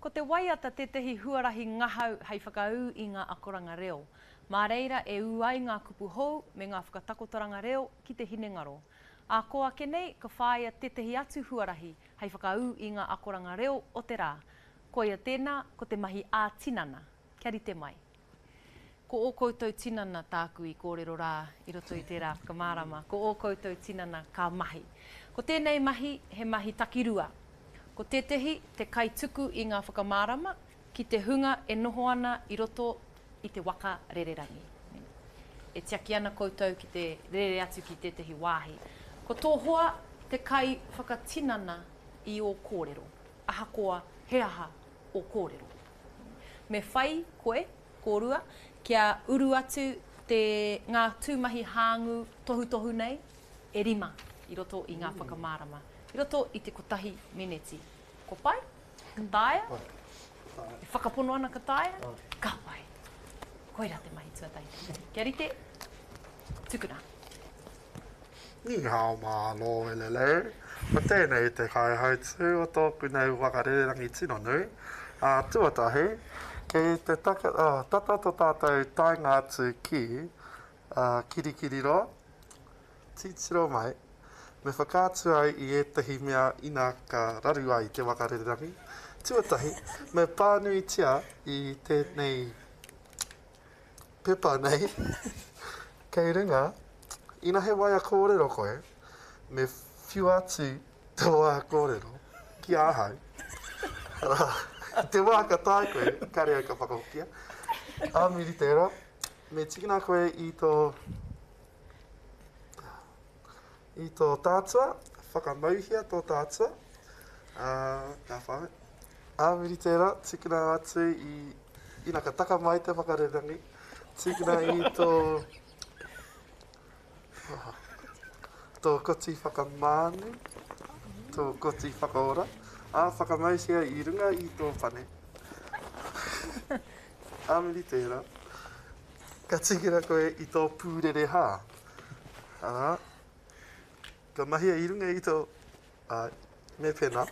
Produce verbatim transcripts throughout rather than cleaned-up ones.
Ko te waiata tētahi huarahi ngahau hei whakaū i ngā akoranga reo. Mā reira e ū ai ngā kupu hou me ngā whakatakotoranga reo ki te hinengaro. Ā kō ake nei, ka whāia tētahi atu huarahi hei whakaū i ngā akoranga reo o te rā. Koia tēnā, ko te mahi ā-tinana. Kia rite mai. Ko ō koutou tinana tāku i kōrero rā i roto i tērā whakamārama, ko ō koutou tinana ka mahi. Ko tēnei mahi, he mahi takirua. Ko tētehi, te kaituku i ngā whakamārama ki te hunga e noho ana i roto i te waka rererangi. E tiaki ana koutou ki te rere atu ki tētehi wāhi. Ko tō hoa te kai whakatinana i ō kōrero, ahakoa he aha ō kōrero. Me whai koe, kōrua, kia uru atu te, ngā tūmahi hāngū tohutohu nei e rima i roto i ngā whakamārama, i roto i te kotahi meneti. Ko pai? Ka taea? E whakapono ana ka taea? Ka pai. Koirā te mahi tuatahi. Kia rite, tukuna. Ni hao mālō e lele. Ko tēnei te kaihautū o tōku nei waka rererangi tino nui. Ā, tuatahi, kei te taka, ā, tata tō tātou taenga atu ki ā, Kirikiriroa. Titiro mai, me whakaatu au i ētahi mea ina ka raru ai te waka rererangi. Tuatahi, me pānuitia i tēnei pepa nei kei runga, ina he waea kōrero koe, me whiua atu tō waea kōrero ki ahau. Arā, i te wā ka tae koe, kāre au ka whakahokia. Ā muri tērā, me tīkina koe i tō i tō tātua, whakamauhia tō tātua, ā, ka whai. Ā muri tērā, tīkina atu i, ina ka taka mai te whakarerangi, tīkina i tō tō koti whakamānu, tō koti whakaora, ā, whakamauhia i runga i tō pane. Ā muri tērā, ka tīkina koe i tō pūrere hā. Arā, ka mahia i runga i tō, ā, me pēnā.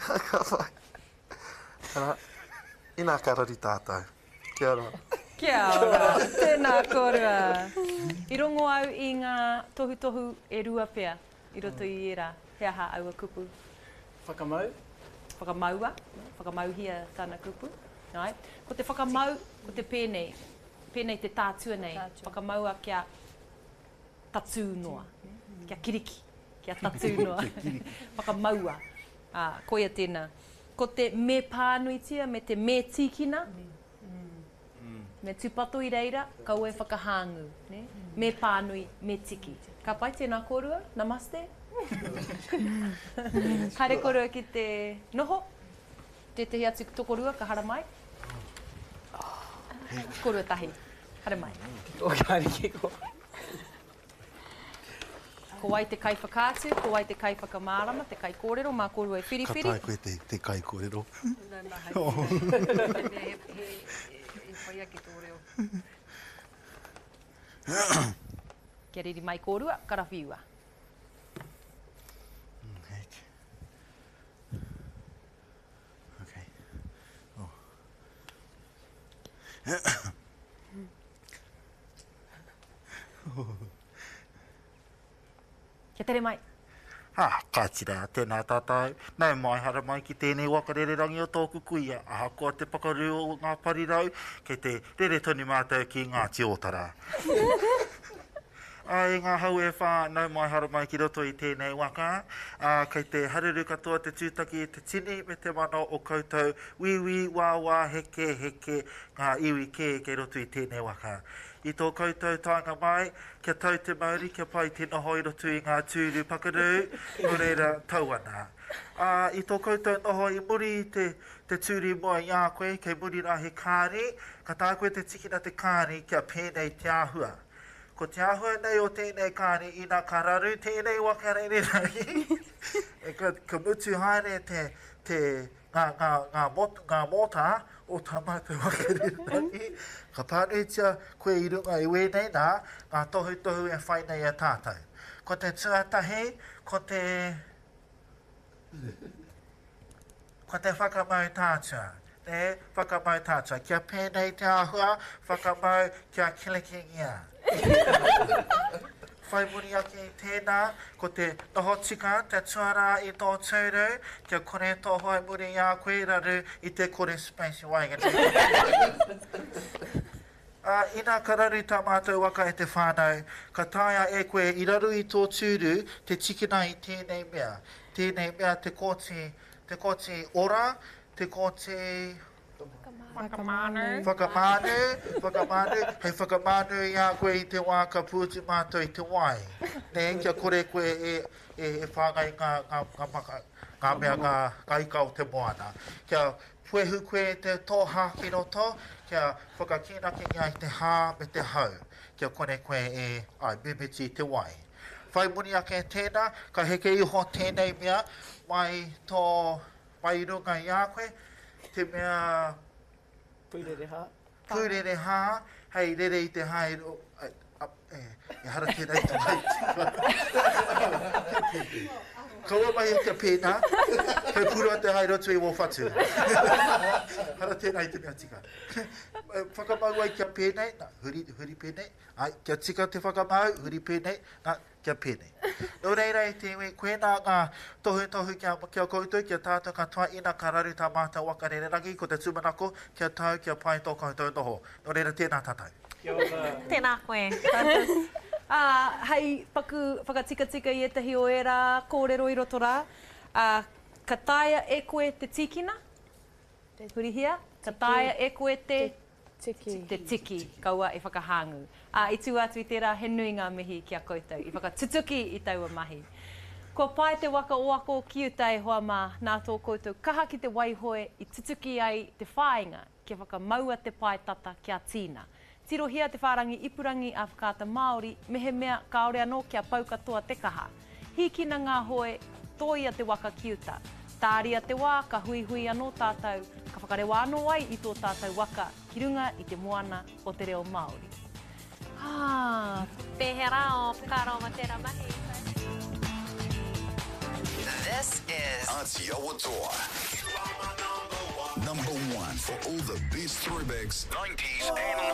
Ka whai. Arā, inā ka raru tātou. Kia ora. Kia ora. Tēnā kōrua. I rongo au i ngā tohutohu e rua pea i roto i ērā. He aha aua kupu? Whakamau. Whakamaua. Whakamauhia tana kupu. Āe. Ko te whakamau, ko te pēnei. Pēnei te tātua nei. Whakamaua kia tatū noa. Kia kiriki. Kia tatū noa. Whakamaua. Ā, koia tēnā. Ko te me pānuitia me te me tīkina. Me tūpato i reira, kaua e whakahāngū. Nē? Me pānui, me tiki. Ka pai, tēnā kōrua. Namaste. Haere kōrua ki te noho. Tētehi atu tokorua ka haramai. Kōrua tahi. Haere mai. Ko wai te kaiwhakaatu, ko wai te kaiwhakamārama, te kaikōrero, mā kōrua e whiriwhiri. Ka taea koe te, te kaikōrero. Nā, nā, hei. He, he, he pai ake tō reo. Kia riri mai kōrua, karawhiua. Heck. Okay. Oh. Kia tere mai. Ah, kāti rā, tēnā tātou. Nau mai, haramai ki tēnei waka rererangi o tōku kuia. Ahakoa te pakaru o ngā parirau, kei te rere tonu mātou ki Ngāti Ōtara. Ā, e ngā hau e whā, nau mai, haramai ki roto i tēnei waka. Ā, kei te haruru katoa te tūtaki i te tini me te mano o koutou wīwī, wāwā, heke, heke, ngā iwi kē kei roto i tēnei waka. I tō koutou taenga mai, kia tau te mauri, kia pai te noho i roto i ngā tūru pakaru, nō reira, tau ana. Ā, i tō koutou noho i muri i te, te tūru i mua i a koe, kei muri rā he kāri, ka taea koe te tikina te kāri kia pēnei te āhua. Ko te āhua nei o tēnei kāri, ina ka raru tēnei waka rererangi, e ka, ka mutu haere te, te, ngā, ngā, ngā, mot, ngā mōtā o tā mātou waka rererangi, ka pānuitia koe i runga i wēnei nā, ngā tohutohu e whai nei e tātou. Ko te tuatahi, ko te... ko te whakamau tātua. Nē, whakamau tātua. Kia pēnei te āhua, whakamau kia kilikingia. Whai muri ake i tēnā, ko te noho tika, te tuarā i tō tūru, kia kore tō hoa i muri i a koe, raru i te kore space i waenganui. Ā, ina ka raru tā mātou waka e te whānau, ka taea e koe i raru i tō tūru te tikina i tēnei mea, tēnei mea te koti, te koti ora, te koti... Whakamānu. Whakamānu, whakamānu, hei whakamānu i a koe i te wā ka pūtu mātou i te wai. Nē, kia kore koe e, e, e whāngai ngā, ngā, ngā, maka, ngā mea, ngā, ngā ika o te moana. Kia puehu koe te tō hā ki roto, kia whakakīnakingia i te hā me te hau, kia kore koe e, ai, mimiti i te wai. Whai muri ake tēnā, ka heke iho tēnei mea mai tō, mai i runga i a koe, te mea... Pūrere hā. Pūrere hā, hei rere i te hā i ro... E, ehara tēnā i te mai tika. Kaua mai kia pēnā, kei pūrua te hā i roto i wō whatu. Hara tēnā i te mea tika. Whakamau ai kia pēnei, nā, huri, huri pēnei, ai, kia tika te whakamau, huri pēnei, nā, kia pēnei. Nō reira e te iwi, koenā ngā tohutohu kia, kia koutou, kia tātou katoa ina ka raru tā mātou waka rererangi, ko te tūmanako, kia tau, kia pai tō koutou noho. Nō reira, tēnā tātou. Kia ora. Tēnā koe. Ā, hei paku whakatikatika i ētahi o ērā kōrero i roto rā, ā, ka taea e koe te tīkina? Hurihia? Ka taea e koe te... Tiki. Te tiki, kaua e whakahāngu. Ā, i tū atu i tērā, he nui ngā mihi ki a koutou, i whakatutuki i taua mahi. Kua pae te waka o ako ki uta e hoa mā, nā tō koutou kaha ki te waihoe i tutuki ai te whāinga kia whakamaua te pae tata kia tīna. Tirohia te whārangi ipurangi a Whakaata Māori, mehemea kāore anō kia pau katoa te kaha. Hīkina ngā hoe, tōia te waka ki uta. Tāria te wā, ka huihui anō tātou, ka whakarewa anō ai i tō tātou waka ki runga i te moana o te reo Māori. Ah, pēhea rā o whakaaro ma tērā mahi. This is Aotearoa Toa. Number one for all the best throwbacks, nineties and